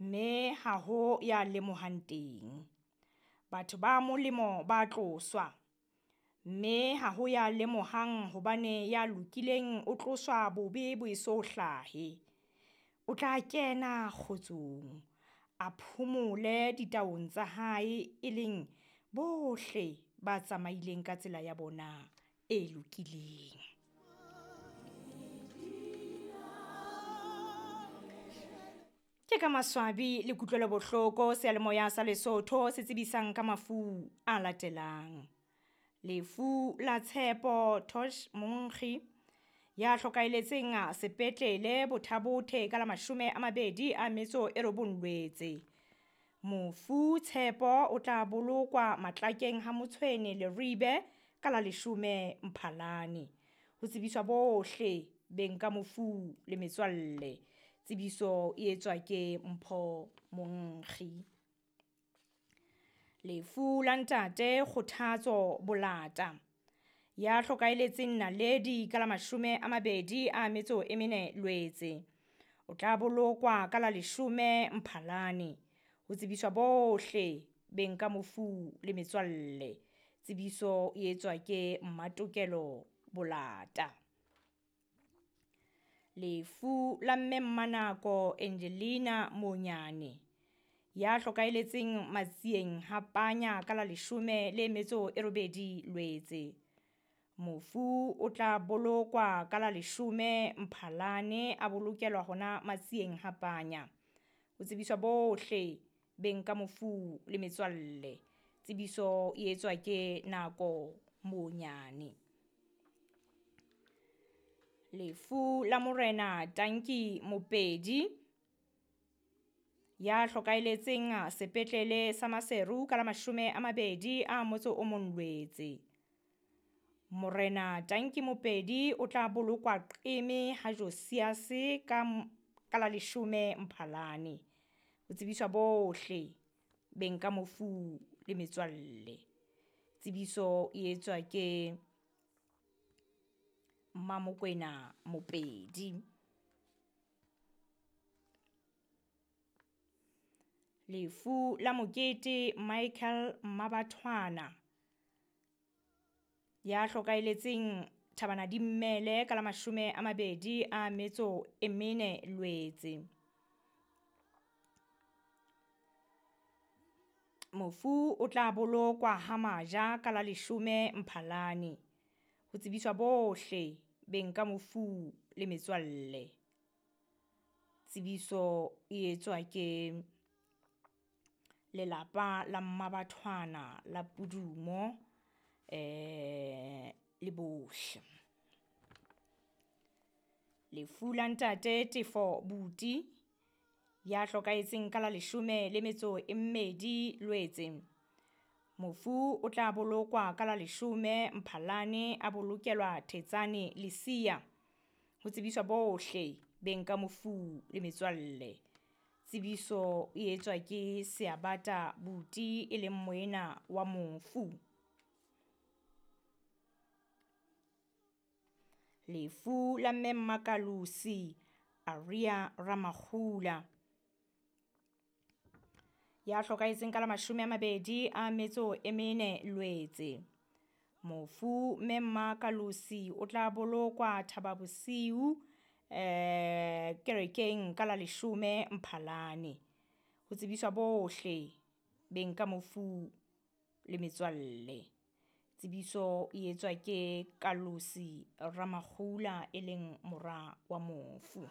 Mme ha ho ya lemohang teng. Batho ba molemo ba tloswa, mme ha ho ya lemohang hobane ya lokileng o tloswa bobe bo eso hlahe. O tla kena kgotsong, a phomole ditaong tsa hae, e leng bohle ba tsamaileng ka tsela ya bona e lokileng. Ke ka maswabi le kutlwelobohloko seyalemoya sa Lesotho se tsebisang ka mafu a latelang. Lefu la Tshepo Tosh Monkgi ya hlokahelletseng sepetlele Botha-Bothe ka la 29 Lwetse. Mofu Tshepo o tla bolokwa Matlakeng ha Motshwene Leribe ka la 10 Mphalane. Ho tsebiswa bohle beng ka mofu le metswalle. Tsebiso e etswa ke Mpho Monkgi. Lefu la ntate Kgothatso Bolata ya hlokahelletseng Naledi ka la 24 Lwetse. O tla bolokwa ka la 10 Mphalane. Ho tsebiswa bohle beng ka mofu le metswalle. Tsebiso e etswa ke Mmatokelo Bolata. Lefu la mme Mmanako Angelina Monyane ya hlokahelletseng Matsieng ha Panya ka la 18 Lwetse. Mofu o tla bolokwa ka la 10 Mphalane, a bolokelwa hona Matsieng ha Panya. Ho tsebiswa bohle beng ka mofu le metswalle. Tsebiso e etswa ke Nako Monyane. Lefu la morena Tanki Mopedi ya hlokahelletseng sepetlele sa Maseru ka la 21 Lwetse. Morena Tanki Mopedi o tla bolokwa Qeme ha Josias ka la 10 Mphalane. Ho tsebiswa bohle beng ka mofu le metswalle. Tsebiso e etswa ke Mmamokwena Mopedi. Lefu la Mokete Michael Mmabathwana ya hlokahelletseng Thabana-di-Mmele ka la 24 Lwetse. Mofu o tla bolokwa ha Maja ka la 10 Mphalane. Ho tsebiswa bohle beng ka mofu le metswalle. Tsebiso e etswa ke lelapa la Mmabathwana la Pudumo le bohle. Lefu la ntate Tefo Buti ya hlokahetseng ka la 12 Lwetse. Mofu o tla bolokwa ka la 10 Mphalane, a bolokelwa Thetsane Lesia. Ho tsebiswa bohle beng ka mofu le metswalle. Tsebiso e etswa ke Seabata Buti e leng moena wa mofu. Lefu la mme Mmakalusi Aria Ramakgula ya hlokahetseng ka la 24 Lwetse. Mofu mme Mmakalusi o tla bolokwa Thababosiu kerekeng ka la 10 Mphalane. Ho tsebiswa bohle beng ka mofu le metswalle. Tsebiso e etswa ke Kalusi Ramakgula e leng mora wa mofu.